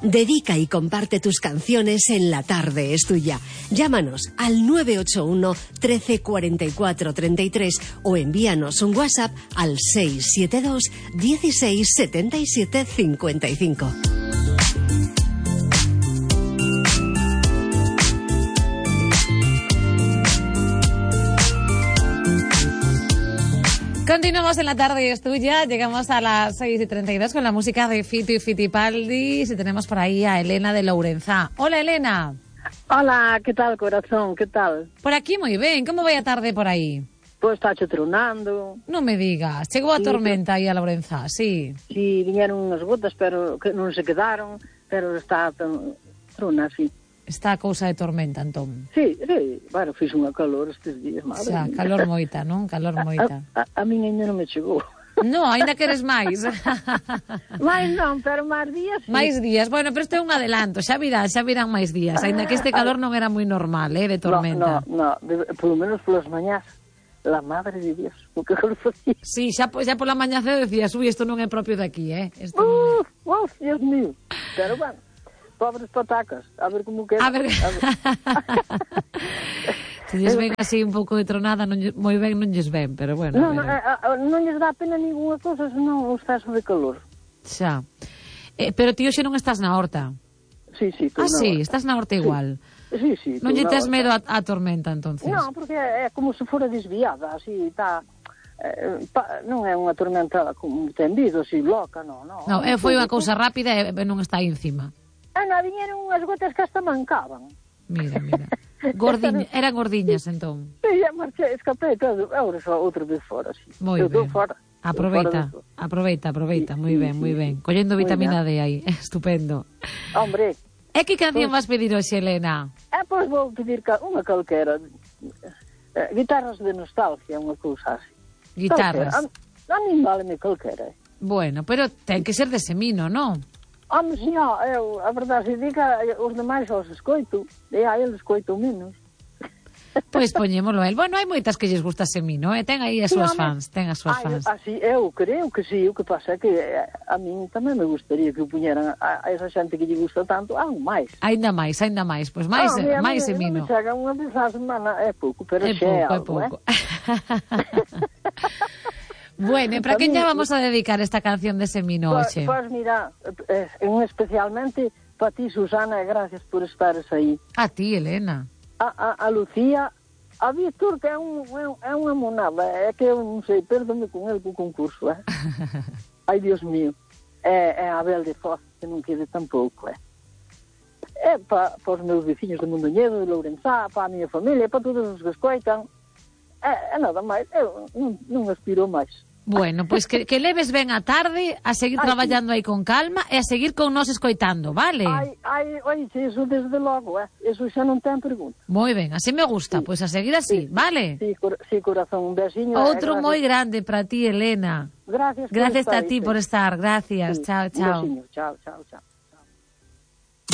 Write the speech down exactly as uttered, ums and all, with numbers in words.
Dedica y comparte tus canciones en La Tarde es Tuya. Llámanos al nueve ocho uno, trece, cuarenta y cuatro, treinta y tres o envíanos un WhatsApp al seis siete dos, dieciséis, setenta y siete, cincuenta y cinco. Continuamos en La Tarde es Tuya, llegamos a las seis y treinta y dos con la música de Fito y Fitipaldi y tenemos por ahí a Elena de Lourenzá. Hola, Elena. Hola, que tal, corazón, que tal? Por aquí moi ben, como vai a tarde por aí? Pois está tronando. Non me digas, chegou a Sí, tormenta aí a Lourenzá, sí. Sí, viñeron unhas gotas, pero que non se quedaron, pero está trona, sí. Está a cousa de tormenta, entón. Sí, sí, bueno, fiz unha calor estes días, madre. Xa, calor moita, non? Calor moita. A, a, a miña ainda non me chegou. No, ainda queres máis. Mais non, pero máis días sí. Máis días, bueno, pero isto é un adelanto, xa virán, xa virán máis días, ainda que este calor non era moi normal, eh, de tormenta. No, no, no, polo menos polas mañás, la madre de Dios, o que calor facía. Sí, xa, xa pola mañá cedo decías, ui, isto non é propio de aquí, eh. Isto Uf, non... uf, Dios mío. Pero bueno, pobres patacas, a ver como queda. A ver... A ver. Se lles ven así un pouco de tronada, non lles, moi ben non lles ven, pero bueno. Non, non, non lles dá pena ninguna cousa, senón o exceso de calor. Xa. Eh, pero ti hoxe non estás na horta. Sí, sí. Ah, sí, horta. estás na horta igual. Sí, sí. Non lle tes medo a, a tormenta, entonces? Non, porque é como se fora desviada, así, está... Eh, pa, non é unha tormenta como tendido, así, loca, non, non. Non, é, foi unha cousa rápida e non está aí encima. Ah, non, viñeron unhas gotas que hasta mancaban. Mira, mira. Gordiña, eran gordiñas, entón. Sí, já marchei, escapei todo, agora só outra vez fora, sí. Moi ben. Fora. Aproveita, aproveita, aproveita, moi ben, moi ben. Collendo vitamina D aí, estupendo. Hombre. E que canción vas pedir hoxe, Elena? Eh, pois vou pedir unha calquera. Eh, guitarras de nostalgia, unha cousa así. Guitarras. A, a mí vale-me calquera. Bueno, pero ten que ser de Semino, non? Home, si, ó, eu, a verdade se diga, os demais os escoito, e a eles escoito menos. Pois poñémolo el. Bueno, hai moitas que lles gusta Semino, eh? Ten aí as súas fans, ten as súas fans. Así, eu creo que sí, o que pasa é que a min tamén me gustaría que o puñeran a, a esa xente que lle gusta tanto, ah, máis. Ainda máis, ainda máis, pois máis, ah, máis mí, Semino. Non me chega unha vez a semana, é pouco, pero é xe é pouco, algo, é pouco. Eh? Bueno, e para quen lle vamos a dedicar esta canción de Semino hoxe? Pois, pues, mira, eh, especialmente para ti, Susana, e gracias por estares aí. A ti, Elena. A, a, a Lucía, a Víctor, que é, un, é unha monada, é que eu non sei, perdome con el co concurso, eh? Ai, Dios mío. É, é a Abel de Foz, que non quede tampouco, eh? É para pa os meus veciños de Mondoñedo, de Lourenzá, para a miña familia, para todos os que escoitan. É, é nada máis, eu non, non aspiro máis. Bueno, pois pues que, que leves ben a tarde, a seguir ai, traballando sí. aí con calma e a seguir con nos escoitando, vale? Ai, ai, oi, eso desde logo, eh? Eso xa non ten pregunta. Moi ben, así me gusta, sí. Pois pues a seguir así, sí. Vale? Sí, cor sí, corazón, un besiño. Outro eh, moi grande para ti, Elena. Gracias por Gracias estar a ti ahí, por estar, gracias, sí. Chao, chao. Un besiño, chao, chao, chao.